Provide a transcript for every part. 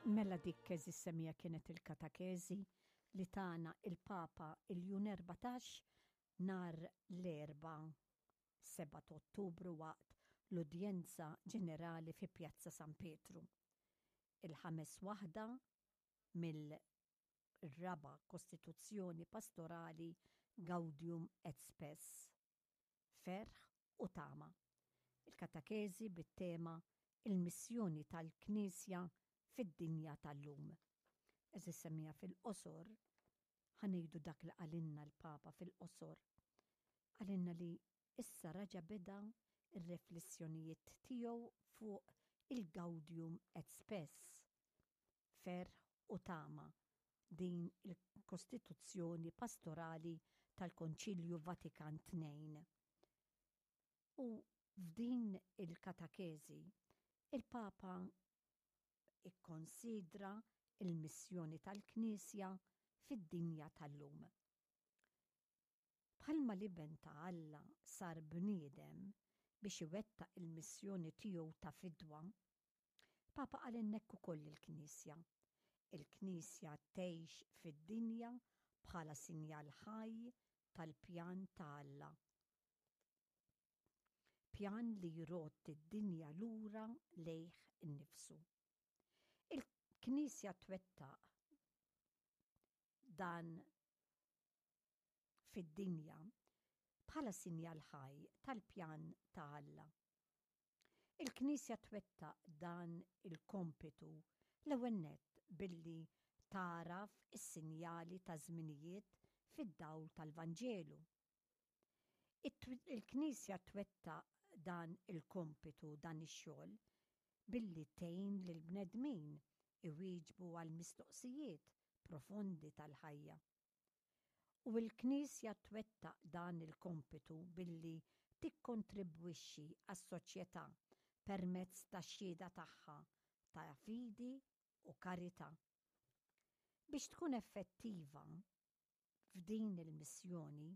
Mela dik għeżież semmiegħa kienet il-katakezi li tana il-Papa Iljun 14 nhar l-Erbgħa 7 ta' Ottubru waqt l-udjenza ġenerali fi Pjazza San Pietru. Il-ħames waħda mill-raba' Kostituzzjoni Pastorali Gaudium et Spes. Ferħ u tama. Il-katakezi bit-tema Il-missjoni tal-Knisja fid-dinja tal-lum. Għeżież semmiegħa fil-qosor, ħa ngħidu dak li qalilna l-Papa fil-qosor. Qalilna li issa raġa' beda r-reflessjonijiet tiegħu fuq il-Gaudium et Spes, ferħ u tama, din il-Kostituzzjoni Pastorali tal-Konċilju Vatikan II. U f'din il-katakezi, il-Papa ikkonsidra l-missjoni tal-Knisja fid-dinja tal-lum. Bħalma l-Iben ta' Alla sar bniedem biex iwettaq il-missjoni tiegħu ta' fidwa, Papa qalilna hekk ukoll il-Knisja. Il-Knisja tgħix fid-dinja bħala sinjal ħaj tal-pjan ta' Alla. Pjan li jrodd id-dinja lura lejh innifsu. Il-Knisja twettaq dan fid-dinja bħala sinjal ħaj tal-pjan ta' Alla. Il-Knisja twettaq dan il-kompitu l-ewwel nett billi tagħraf is-sinjali taż-żminijiet fid-dawl tal-Vanġelu. Il-Knisja twettaq dan il-kompitu, dan ix-xogħol, billi tgħin lill-bnedmin iwieġbu għall-mistoqsijiet profondi tal-ħajja. U l-Knisja twettaq dan il-kompitu billi tikkontribwixxi għas-soċjetà permezz tax-xhieda tagħha ta' fidi u karità. Biex tkun effettiva f'din il-missjoni,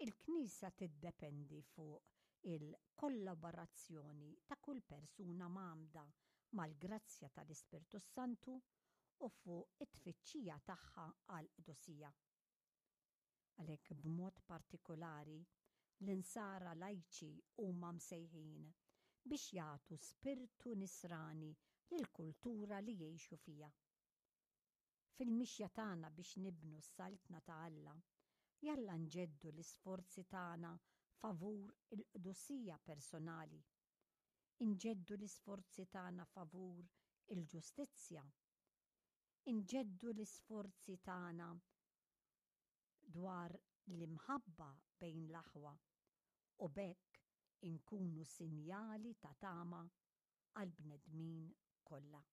il-Knisja tiddependi fuq il-kollaborazzjoni ta' kull persuna mgħammda mal-grazzja tal-Ispirtu s-Santu u fuq it-tfittxija tagħha għall-qdusija. Għalhekk b'mod partikulari l-Insara lajċi huma msejħin biex jagħtu spirtu nisrani lill-kultura li jgħixu fiha. Fil-mixja tagħna biex nibnu s-Saltna ta' Alla, jalla nġeddu l-isforzi tagħna favur il-qdusija personali Inġeddu l-isforzi tagħna favur il-ġustizzja. Inġeddu l-isforzi tagħna dwar l-imħabba bejn l-aħwa u b'hekk inkunu sinjali ta' tama għall-bnedmin kollha.